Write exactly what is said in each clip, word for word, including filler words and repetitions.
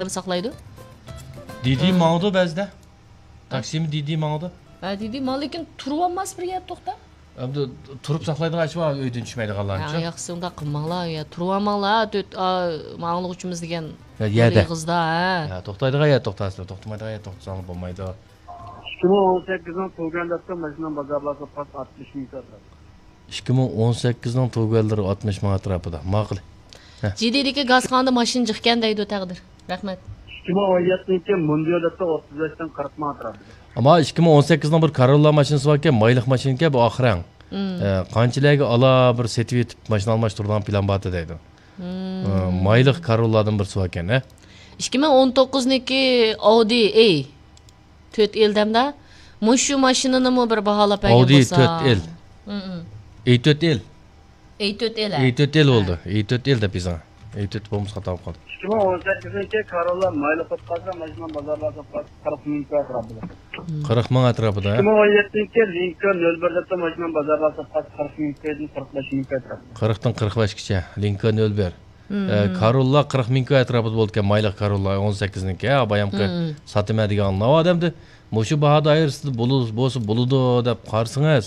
ساقلايدۇ. دىدى ھە. ماڭىدۇ بەزىدە. تاكسىمۇ دىدى ماڭىدۇ. ھە، دىدى ماڭ، لېكىن تۇرۇۋالماس بىر يەردە توختاپ. ئەمدى تۇرۇپ ساقلايدىغان ئىش بار، ئۆيدىن چۈشمەيدىغانلارنىچۇ؟ ھە، ياخشى، ئۇنداق قىلماڭلار. يا، تۇرۇۋالماڭلار، تۆت، ئا، ماڭلىغۇچىمىز دېگەن يەردە. ئېغىزدا، ھە. ھە، توختايدىغان يەردە توختاسىلەر، توختىمايدىغان يەردە توختىساڭلار بولمايدۇ. ئىككى مىڭ ئون سەككىزنىڭ تۇغۇلغان دەپتۇ، ماشىنىنىڭ بازار باھاسى پاس ئاتمىش مىڭ كاتراپ. ئىككى مىڭ ئون سەككىزنىڭ تۇغۇلغانلىرى ئاتمىش مىڭ ئەتراپىدا. ماقۇل. ھە. جىدىدىكى گازخانىدا ماشىنا جىقكەن دەيدۇ تەقدىر. رەھمەت. ئىككى مىڭ ئون يەتتىنچى مۇندىيو دەپتۇ، ئوتتۇز بەشتىن قىرىق مىڭ ئەتراپىدا. ئەمما ئىككى مىڭ ئون سەككىزنىڭ بىر كاروللا ماشىنىسى باركەن، مايلىق ماشىنىكەن، بۇ ئاخىرەڭ. مم. ئە، قانچىلەرگە ئالا بىر سېتىۋېتىپ ماشىنا ئالماشتۇرىدىغان پىلان بارتى دەيدۇ. مم. ئە، مايلىق كاروللادىن بىرسى باركەن، ھە؟ ئىككى مىڭ ئون توققۇزنىڭكى ئاۋدى ئەي تۆت ئېل دەمدە. مۇشۇ ماشىنىنىمۇ بىر باھالاپ بەرگەن ئاۋدى بولسا. تۆت ئېل. مم. ئەي تۆت ئېل. ئەي تۆت ئېل، ھە. ئەي تۆت ئېل ھە. بولدى. ئەي تۆت ئېل دەپ يېزىڭ. ئەي تۆت بولمىسا خاتا بولۇپ قالدى. ئىككى مىڭ ئون سەككىزىنچى كاروللا مايلىق بولۇپ قالسا، ماشىنىنىڭ بازار باھاسى قىرىق مىڭ ئەتراپىدا. قىرىق مىڭ ئەتراپىدا، ھە؟ ئىككى مىڭ ئون يەتتىنچى لىنكولن نۆل بىر دەپتۇ، ماشىنىنىڭ بازار باھاسى قىرىق مىڭ، قىرىق بەش مىڭ ئەتراپىدا. قىرىقتىن قىرىق بەشكىچە. لىنكولن نۆل بىر. مم. ئە، كاروللا قىرىق مىڭ ئەتراپىدا بولىدىكەن، مايلىق كاروللا ئون سەككىزنىڭكى، ھە، بايامقى مم. ساتىمەن دېگەن ئاڭلاۋاتىمدى. مۇشۇ باھا دائىرىسىدە بولۇ-، بولسا بولىدۇ دەپ قارىسىڭىز،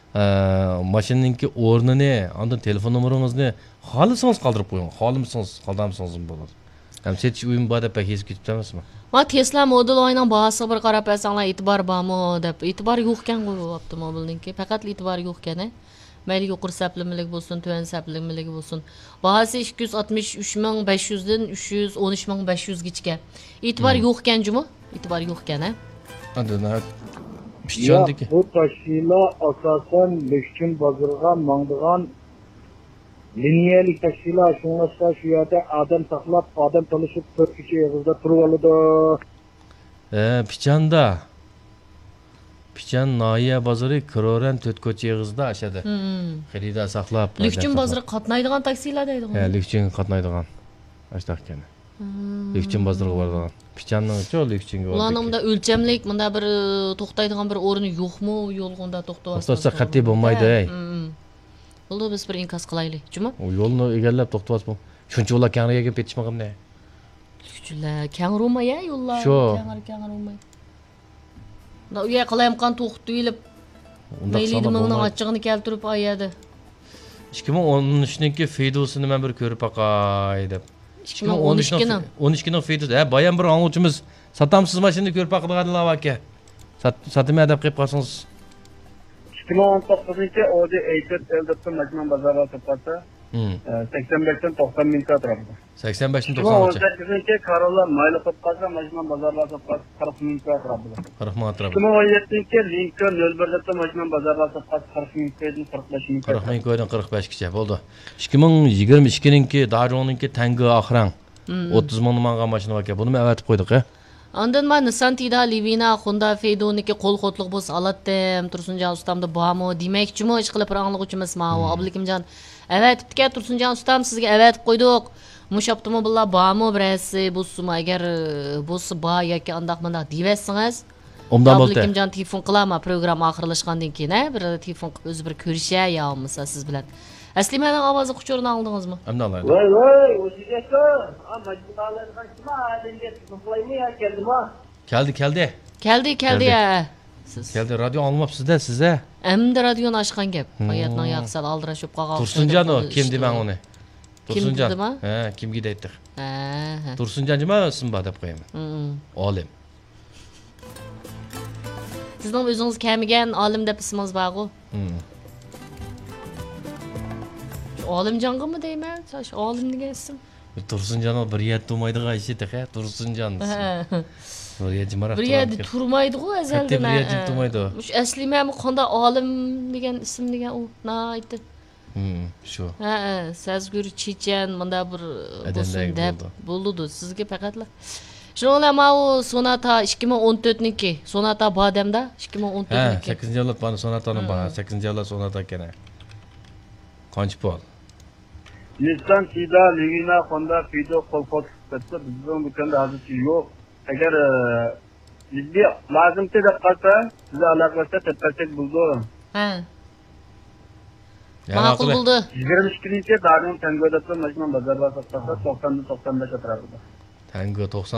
ئە، ماشىنىنىڭكى ئورنىنى، ئاندىن تېلېفون نومۇرىڭىزنى خالىسىڭىز قالدۇرۇپ قويۇڭ، خالىمىسىڭىز قالدۇرمىسىڭىزمۇ بولىدۇ. ھەم سېتىش ئويۇمى بار دەپ بەك ھېسىپ كېتىپتۇ ئەمەسمۇ؟ ما تېسلا مودېل ئاينىڭ باھاسىغا بىر قاراپ بەرسەڭلار، ئېتىبار بارمۇ دەپ. ئېتىبار يوقكەنغۇ ئاپتوموبىلنىڭكى، پەقەتلا ئېتىبار يوقكەن، ھە. مەيلى يۇقىرى سەپلىمىلىك بولسۇن، تۆۋەن سەپلىمىلىك بولسۇن. باھاسى ئىككى يۈز ئاتمىش ئۈچ مىڭ بەش يۈزدىن ئۈچ يۈز ئون ئۈچ مىڭ بەش يۈزگىچىكەن. ئېتىبار مم. يوقكەن جۇمۇ؟ ئېتىبار يوقكەن، ھە؟ ئاندىن ھە، پىچاندىكى. ياق، بۇ تاشيوللار ئاساسەن لۈكچۈن بازىرىغا ماڭىدىغان لىنىيەلىك تاشيوللار، شۇڭلاشقا شۇ يەردە ئادەم ساقلاپ، ئادەم تالىشىپ، تۆت كوچا ئېغىزىدا تۇرۇۋالىدۇ. ھە، پىچاندا. پىچان ناھىيە بازىرى، كرورەن تۆت كوچا ئېغىزىدا ئاشادا. مم. خېرىدار ساقلاپ، لۈكچۈن بازىرىغا قاتنايدىغان تاكسىلار دەيدىغۇ. ھە، لۈكچۈنگە قاتنايدىغان. ئاشتاق ئىكەن. مم. لۈكچۈن بازىرىغا بارىدىغان. پىچاننىڭچۇ لۈكچۈنگە بارىدىكەن. ئۇلارنىڭ مۇنداق ئۆلچەملىك، مۇنداق بىر، ئى، توختايدىغان بىر ئورنى يوقمۇ؟ يولغا ئۇنداق توختىۋالسا توختاتسا قەتئىي بولمايدۇ، ھەي. مم. بولدى، بىز بىر ئىنكاس قىلايلى، جۇمۇ؟ ئۇ يولنى ئېگەرلەپ توختىۋالسا بول-، شۇنچە ئۇلار كەڭرى يەرگە پېتىشمىغىنى. لۈكچۈنلەر، كەڭرى ئۇرماي، ھە، يوللار. شۇ. كەڭرى، كەڭرى ئۇرماي. مۇنداق ئۇ يەر قالايمىقان توختىتىۋېلىپ، ئۇنداق مەيلىدە ساڭا مىڭنىڭ بولمايدۇ. ئاچچىقىنى كەلتۈرۈپ، ئا يەردە. ئىككى مىڭ ئون ئۈچنىڭكى فىدوسىنى مەن بىر كۆرۈپ باقاي دەپ. ئىككى مىڭ ئون ئىككىنىڭ. ئىككى مىڭ ئون ئۈچنىڭ فىدوسى. ھە، بايام بىر ئاڭلىغۇچىمىز، ساتامسىز ماشىنىنى كۆرۈپ باقىدىغانلار باركەن. سات-، ساتىمەن دەپ قېلىپ قالسىڭىز. ئىككى مىڭ ئون توققۇزىنچى ئودى ئەي تۆت ئېل دەپتۇ، ماشىنىنىڭ بازار باھاسى پاتسا، مم. ئە، سەكسەن بەشتىن توقسان مىڭ ئەتراپىدا. سەكسەن بەشتىن توقسان مىڭ. ئىككى مىڭ ئون سەككىزىنچى كاروللا مايلىق بولۇپ قالسا، ماشىنىنىڭ بازار باھاسى قىرىق مىڭ ئەتراپىدا. قىرىق مىڭ ئەتراپىدا. ئىككى مىڭ ئون يەتتىنچى لىنكولن نۆل بىر دەپتۇ، ماشىنىنىڭ بازار باھاسى قىرىق مىڭ، قىرىق بەش مىڭ. قىرىق مىڭ كويدىن قىرىق بەشكىچە بولدى. ئىككى مىڭ يىگىرمە ئىككىنىڭكى داجۇڭنىڭكى تەڭگە ئاخىرەڭ. مم. ئوتتۇز مىڭنى ماڭغان ماشىنا باركەن. بۇنىمۇ ئەۋەتىپ قويدۇق، ھە؟ ئاندىن ما نىسسان تىدا، لىۋىنا، خوندا فېيدونىكى قول قوتلۇق بولسا ئالاتتىم، تۇرسۇنجان ئۇستامدا بارمۇ دېمەكچىمۇ، ئىشقىلىپ بىر ئاڭلىغۇچىمىز ماۋۇ، مم. ئابلىكىمجان ئەۋەتىپتىكەن، تۇرسۇنجان ئۇستام سىزگە ئەۋەتىپ قويدۇق. مۇشۇ ئاپتوموبىللار بارمۇ بىرەرسى بولسىمۇ، ئەگەر، ئە، بولسا بار ياكى ئانداق مۇنداق دېيىۋەتسىڭىز. ئوبدان بولدى. ئابلىكىمجان تېلېفون قىلار ما پروگرامما ئاخىرلاشقاندىن كېيىن، ھە، بىر تېلېفون قىلىپ ئۆزى بىر كۆرۈشەر يا بولمىسا سىز بىلەن. ئەسلىمەنىڭ ئاۋازى قۇچۇرىنى ئاڭلىدىڭىزمۇ؟ ئەمدى ئاڭلايدۇ. ۋاي، ۋاي، ئۇزىنجاكا. ئا، ماجىدالارغا كىم ئادەمگە تېلېفون قىلايمۇ يا كەلدىمۇ؟ كەلدى، كەلدى. كەلدى، كەلدى، كەلدى. ھە. سىز. كەلدى، رادىيو ئاڭلىماپسىز-دە سىز، ھە؟ ئەمدى رادىيونى ئاچقان گەپ. ھىم. ھاياتنىڭ ياقىسى ئالدىراش بولۇپ قالغان تۇرسۇنجان ئۇ، كىم دېمەڭ ئۇنى. كىم تۇرسۇنجان. دېدىما؟ ھە، كىمگە دەيتتىق؟ ھە، ھە. تۇرسۇنجان جۇما ئىسمى بار دەپ قويىمەن. ھىم. ئالىم. سىزنىڭ ئۆزىڭىز كەلمىگەن ئالىم دەپ ئىسمىڭىز بارغۇ؟ ھىم. شۇ ئالىمجانغىمۇ دەيمەن، شۇ ئالىم دېگەن ئىسىم. تۇرسۇنجان بىر يەردە تۇرمايدىغان ئىشى تېخى، تۇرسۇنجان. ھە. بىر يەردە جىمراق بىر يەردە تۇرامدىكەن. تۇرمايدىغۇ ئەزەلدىن، قەتئىي بىر يەردە ھە. تۇرمايدۇ. مۇشۇ ئەسلىمەمۇ قانداق ئالىم دېگەن ئىسىم دېگەن ئۇ، ناھايىتى. ھىم، شۇ. ھە، ھە، سەزگۈر چېچەن، مۇنداق بىر ئادەمدەك بولسۇن دەپ بولىدۇ. بولىدۇ. سىزگە پەقەتلا. شۇنىڭ بىلەن ماۋۇ سوناتا ئىككى مىڭ ئون تۆتنىڭكى. سوناتا بار دەمدا؟ ئىككى مىڭ ئون تۆتنىڭكى. ھە، سەككىزىنچى ئايلار بار، سوناتانىڭ بار. ھىم. سەككىزىنچى ئايلار سوناتا ئىكەن. قانچە پۇل؟ نىسسان، تىدا، لىۋىنا، خوندا، فىدو، قول قوتلۇق دەپتۇ. بىزنىڭ دۇكاندا ھازىرچە يوق. ئەگەر، ئە، جىددىي لازىمكى دەپ قالسا، بىز ئالاقىلەشسەك، دەپ بەرسەك بولىدۇ. ھە. يا، ماقۇل ماقۇل. بولدى. يىگىرمە ئىككىنچى دادىڭ تەڭگۆ دەپتۇ، ماشىنا بازارغا ساتساق، توقساندىن توقسان بەش ئەتراپىدا. تەڭگە توقسان.